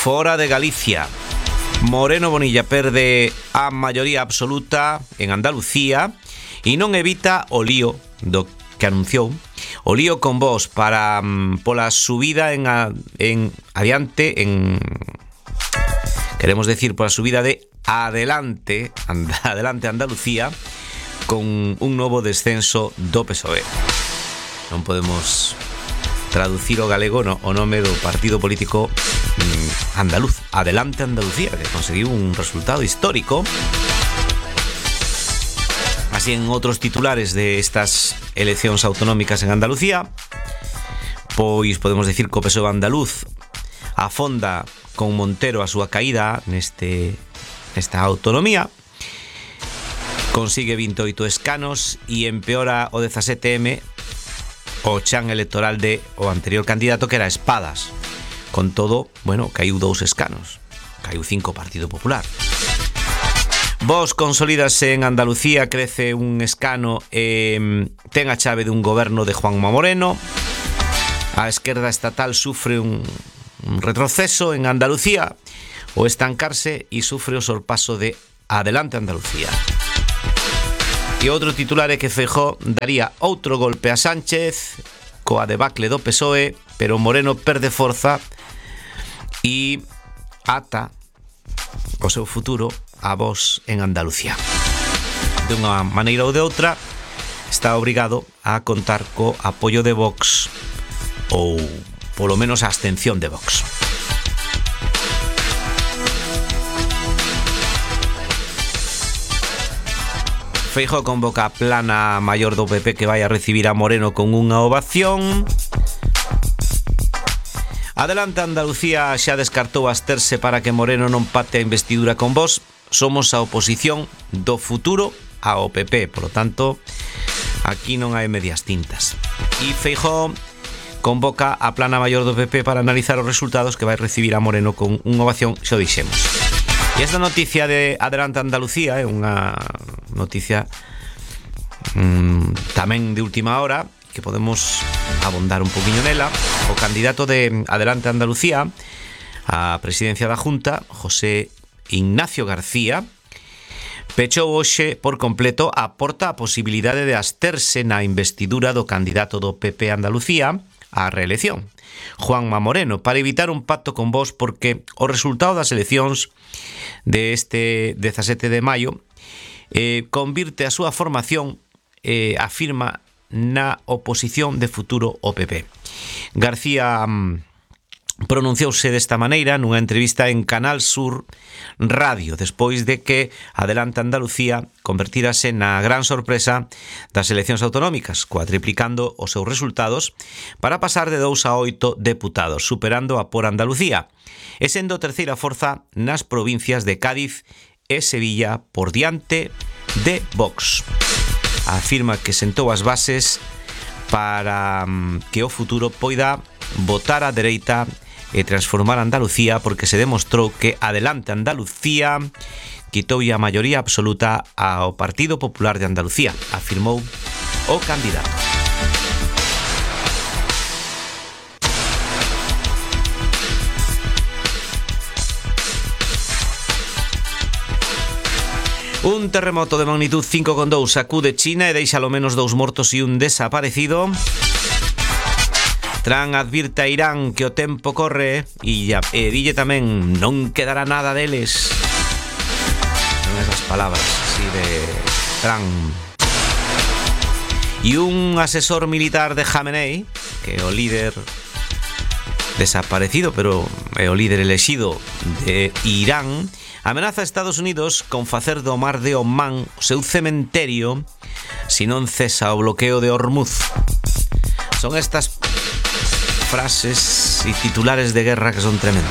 fora de Galicia. Moreno Bonilla perde a maioría absoluta en Andalucía e non evita o lío do que anunciou, o lío con Vox para pola subida en adiante queremos decir pola subida de Adelante Andalucía con un novo descenso do PSOE. Non podemos traducir o galego o nome do partido político andaluz, Adelante Andalucía, que conseguiu un resultado histórico. Así, en outros titulares de estas eleccións autonómicas en Andalucía, pois podemos decir que o PSOE andaluz afonda con Montero a súa caída nesta autonomía, consigue 28 escanos e empeora o 17M o chan electoral de o anterior candidato, que era Espadas. Con todo, bueno, caiu 2 escanos, caiu 5 Partido Popular. Vox consolídase en Andalucía, crece un escano e ten a chave dun goberno de Juanma Moreno. A esquerda estatal sufre un retroceso en Andalucía, o estancarse, e sufre o sorpaso de Adelante Andalucía. E outro titular é que Feijóo daría outro golpe a Sánchez coa debacle do PSOE, pero Moreno perde forza e ata o seu futuro a Vox en Andalucía. De unha maneira ou de outra, está obrigado a contar co apoio de Vox, ou polo menos a abstención de Vox. Feijóo convoca a plana maior do PP que vai a recibir a Moreno con unha ovación. Adelante Andalucía xa descartou absterse para que Moreno non pate a investidura con Vox. Somos a oposición do futuro ao PP, por lo tanto, aquí non hai medias tintas. E Feijóo convoca a plana maior do PP para analizar os resultados que vai recibir a Moreno con unha ovación, xa o dixemos. E esta noticia de Adelante Andalucía é unha noticia tamén de última hora, que podemos abondar un poquinho nela. O candidato de Adelante Andalucía á presidencia da Junta, José Ignacio García, pechou hoxe por completo a porta a posibilidade de absterse na investidura do candidato do PP Andalucía á reelección, Juanma Moreno, para evitar un pacto con Vox, porque o resultado das eleccións deste 17 de maio convirte a súa formación, afirma, na oposición de futuro ao PP. García pronunciouse desta maneira nunha entrevista en Canal Sur Radio, despois de que Adelante Andalucía convertírase na gran sorpresa das eleccións autonómicas, cuatriplicando os seus resultados para pasar de 2 a 8 deputados, superando a por Andalucía, e sendo terceira forza nas provincias de Cádiz e Sevilla por diante de Vox. Afirma que sentou as bases para que o futuro poida votar á dereita e transformar Andalucía, porque se demostrou que Adelante Andalucía quitoulle a maioría absoluta ao Partido Popular de Andalucía, afirmou o candidato. Un terremoto de magnitud 5,2 sacude China e deixa ao menos 2 mortos e un desaparecido. Trump advirte a Irán que o tempo corre e dille tamén non quedará nada deles. Son esas palabras así de Trump. E un asesor militar de Jamenei, que é o líder desaparecido, pero é o líder elexido de Irán, amenaza a Estados Unidos con facer do mar de Omán o seu cementerio se non cesa o bloqueo de Hormuz. Son estas frases e titulares de guerra que son tremendos.